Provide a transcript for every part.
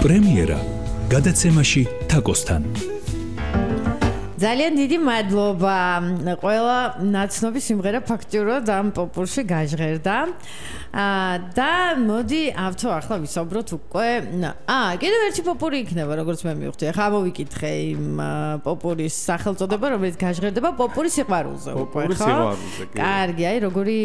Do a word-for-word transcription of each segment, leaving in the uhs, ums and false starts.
პრემიერა გადაცემაში თაკოსთან. ძალიან დიდი მადლობა. ყველა ნაცნობი სიმღერა ფაქტიურად ამ პოპულში გაჟღერდა. და მოდი ავთო ახლა ვისაუბროთ უკვე. აა, კიდევ ერთი პოპური იქნება, როგორც მე მივხვდი. ახლა მოვიკითხე იმ პოპურის სახელწოდება, რომელიც გაჟღერდება პოპურის სიყვარულზე უკვე, ხო? პოპურის სიყვარულზე. კარგი, აი როგორი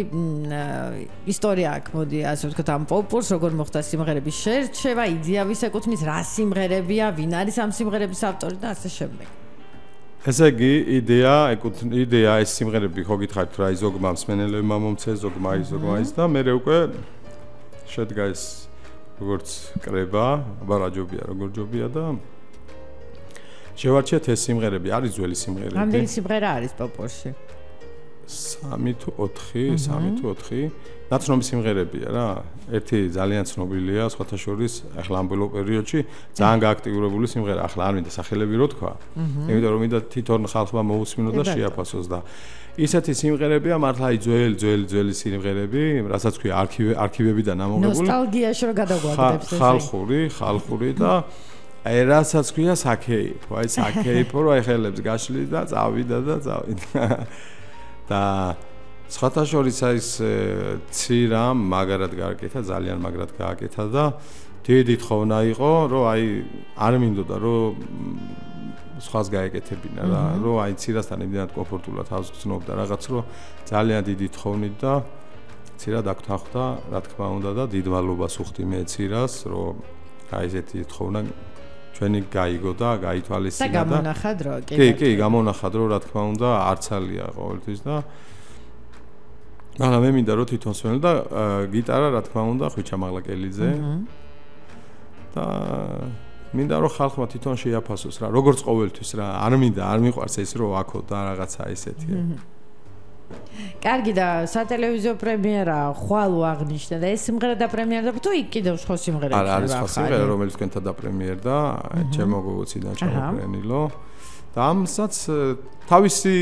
ისტორია აქვს, მოდი ასე ვთქვათ, ამ პოპურს, როგორ მოხდა სიმღერების შერჩევა, იდეა ვის ეკუთვნის, რა სიმღერებია, ვინ არის ამ სიმღერების ავტორი და ასე შემდეგ. ესე იგი, იდეა, იდეა ეს სიმღერები ხო გითხარით რა ზოგმა მსმენელებმა მომცეს, ზოგმა ის, ზოგმა ის და მე უკვე შედგა ეს როგორც კრება, აბა რა ჯობია, როგორ ჯობია და შევარჩიეთ ეს სიმღერები, არის ძველი სიმღერები. რამდენი სიმღერა არის პოპურში? სამი თუ ოთხი, სამი თუ ოთხი. ნაცნობი სიმღერებია რა. ერთი ძალიან ცნობილია, სხვათა შორის, ახლა ამ ბოლო პერიოდში ძალიან გააქტიურებული სიმღერა, ახლა არ მინდა სახელები რო თქვა. იმიტომ რომ მინდა თვითონ ხალხმა მოусმინო და შეაფასოს და ისეთი სიმღერებია მართლა აი ძველი, ძველი, ძველი სიმღერები, რასაც ქვია არქივე, არქივებიდან ამოღებული. ნოსტალგიაში რო გადაგვაგდებს ეს. ხალხური, ხალხური და აი რასაც ქვია საქეიფო, აი საქეიფო რო აი ხელებს გაშლი და წავიდა და წავიდა. და სხვათა შორის ის ცირა მაგრად გააკეთა, ძალიან მაგრად გააკეთა და დიდი თხოვნა იყო, რომ აი არ მინდოდა რომ სხვას გაეკეთებინა რა, რომ აი ცირასთან იმდენად კომფორტულად თავს გრძნობდა რაღაც, რომ ძალიან დიდი თხოვნით და ცირა დაგთანხმდა, რა თქმა უნდა და დიდ მადლობას უხდი მე ცირას, რომ აი ესეთი თხოვნა ჩვენი გაიგო და გაითვალისწინა და გამონახა დრო, კი, კი, კი, გამონახა დრო, რა თქმა უნდა, არცალია ყოველთვის და მაგრამ მე მინდა რომ თვითონ სვენელ და გიტარა, რა თქმა უნდა, ხვიჩა მაღლაკელიძე. და მინდა რომ ხალხმა თვითონ შეაფასოს რა, როგორც ყოველთვის რა, არ მინდა, არ მიყვარს ეს რომ აქო და რაღაცა ესეთია. კარგი და სატელევიზიო პრემიერა ხვალ აღნიშნა და ეს სიმღერა დაპრემიერდა თუ იქ კიდევ სხვა სიმღერები არა არის სხვა სიმღერა რომელიც თქვენთან დაპრემიერდა ჩემო გოგოციდან ჩამოფრენილო და ამსაც თავისი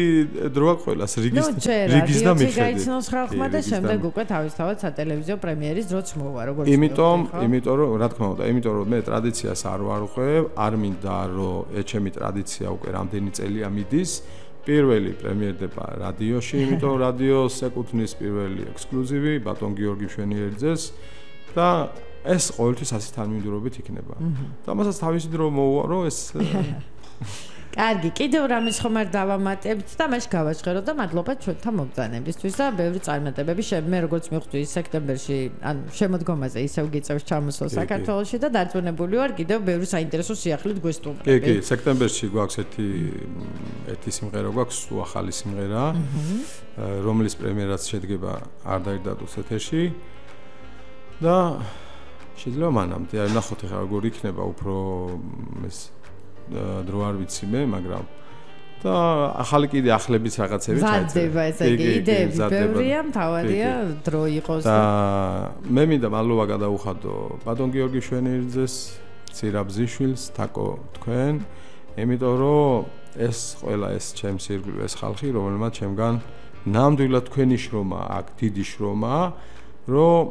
დროა ყველას რიგის რიგის და მიხედვით გაიცნოს ხალხმა და შემდეგ უკვე თავისთავად სატელევიზიო პრემიერის დროც მოვა როგორც იმიტომ იმიტომ რომ რა თქმა უნდა იმიტომ რომ მე ტრადიციას არ ვარღვევ არ მინდა რომ ეჩემი ტრადიცია უკვე რამდენი წელია მიდის პირველი პრემიერდება რადიოში, იმიტომ რადიოს ეკუთვნის პირველი ექსკლუზივი ბატონ გიორგი მშვენიერიძეს და ეს ყოველთვის ასეთ თანმიმდევრობით იქნება. და მასაც თავისი დრო მოუვა, რომ ეს კარგი, კიდევ რამის ხომ არ დავამატებთ და მაშ გავაჟღეროთ და მადლობა ჩვენთან მოგზაურობისთვის და ბევრი წარმატებები მე როგორც მივხვდი სექტემბერში, ანუ შემოდგომაზე ისევ გიწევს ჩამოსვლა საქართველოში და დარწმუნებული ვარ კიდევ ბევრი საინტერესო სიახლით გვესტუმრები. კი, კი, სექტემბერში გვაქვს ერთი ერთი სიმღერა გვაქვს, ახალი სიმღერა, რომლის პრემიერაც შედგება არ დაირდადოს ეთერში და შეიძლება მანამდე არ ნახოთ ახლა როგორ იქნება უფრო ეს დრო არ ვიცი მე, მაგრამ და ახალი კიდე ახლებიც რაღაცები ჩაიწერა. ესე იგი, იდეები ბევრია, მთავარია დრო იყოს. და მე მინდა მადლობა გადაუხადო ბატონ გიორგი მშვენიერიძეს, ცირაბზიშვილს, თაკო თქვენ, იმიტომ რომ ეს ყველა ეს ჩემს ირგვლივ ეს ხალხი, რომელმაც ჩემგან ნამდვილად თქვენი შრომა აქვს, დიდი შრომა, რომ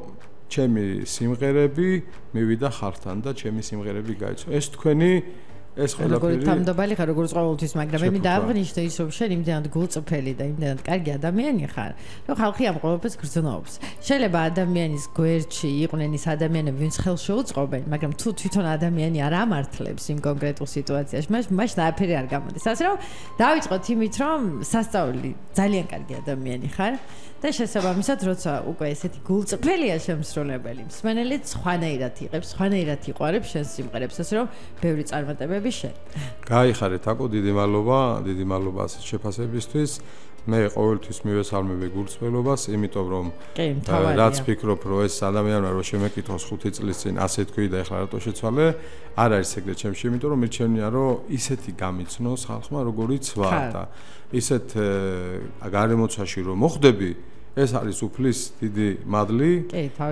ჩემი სიმღერები მივიდა ხალხთან და ჩემი სიმღერები გაიცნო. ეს თქვენი ეს ყველაფერი როგორ თამდობალი ხარ როგორც ყოველთვის მაგრამ მე მინდა აღნიშნო ის რომ შენ იმდენად გულწრფელი და იმდენად კარგი ადამიანი ხარ რომ ხალხი ამ ყოველფერს გრძნობს შეიძლება ადამიანის გვერდში იყვნენ ის ადამიანები ვინც ხელს შეუწყობენ მაგრამ თუ თვითონ ადამიანი არ ამართლებს იმ კონკრეტულ სიტუაციაში მას მას ნააფერი არ გამოდის ასე რომ დავიწყოთ იმით რომ სასწაული ძალიან კარგი ადამიანი ხარ და შესაბამისად როცა უკვე ესეთი გულწრფელია შემსრულებელი მსმენელი სხვანაირად იღებს სხვანაირად იყვარებს შენს სიმღერებს ასე რომ ბევრი წარმატებები შენ გაიხარეთ აკო დიდი მადლობა დიდი მადლობა ასეთ შეფასებისთვის მე ყოველთვის მივესალმები გულწრფელობას იმიტომ რომ რაც ფიქრობ რომ ეს ადამიანმა რომ შემეკითხოს ხუთი წლის წინ ასე თქვი და ეხლა რატო შეცვალე არ არის ეგრეთ ჩემში იმიტომ რომ მირჩენია რომ ისეთი გამიცნოს ხალხმა როგორიც ვარ და ისეთ გარემოცვაში რომ მოხდები ეს არის უფლის დიდი მადლი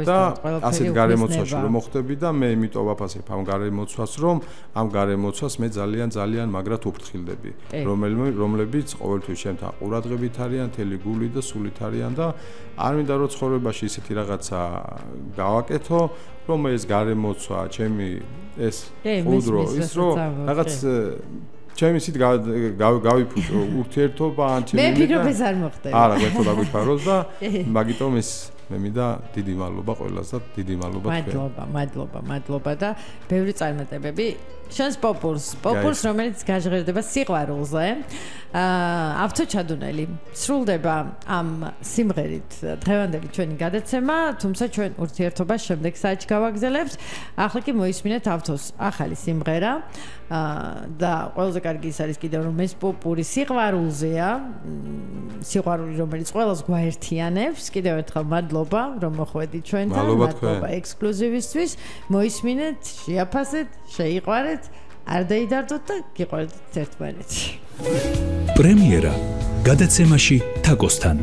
და ასეთ გარემოცვაში რომ მოხდები და მე იმიტომ ვაფასებ ამ გარემოცვას რომ ამ გარემოცვას მე ძალიან ძალიან მაგრად უფრთხილდები რომლებიც ყოველთვის ჩემთან ყურადღებით არიან, თელი გული და სულით არიან და არ მინდა რომ ცხოვრებაში ისეთი რაღაცა გავაკეთო რომ ეს გარემოცვა ჩემი ეს უდრო ის რომ რაღაც ჩემი ისით გავიფუჭო ურთიერთობა ან ჩემი მე ვფიქრობ ეს არ მოხდება არა გეთო დაგვიფაროს და მაგიტომ ეს მე მინდა დიდი მადლობა ყველას და დიდი მადლობა თქვენ მადლობა მადლობა მადლობა და ბევრი წარმატებები შენს პოპურს პოპურს რომელიც გაჟღერდება სიყვარულზე აა ავტოჩადუნელი სრულდება ამ სიმღერით დღევანდელი ჩვენი გადაცემა თუმცა ჩვენ ურთიერთობას შემდეგ საათში გავაგზავნებთ ახლა კი მოისმინეთ ავტოს ახალი სიმღერა და ყველაზე კარგი ის არის კიდევ რომ ეს პოპური სიყვარულზეა სიყვარული რომელიც ყველას გვაერთიანებს კიდევ ერთხელ მადლობა რომ მოხვედით ჩვენთან მადლობა ექსკლუზივისთვის მოისმინეთ შეაფასეთ შეიყვარეთ არ დაიდარდოთ და გიყვარდეთ ერთმანეთს პრემიერა გადაცემაში თაკოსთან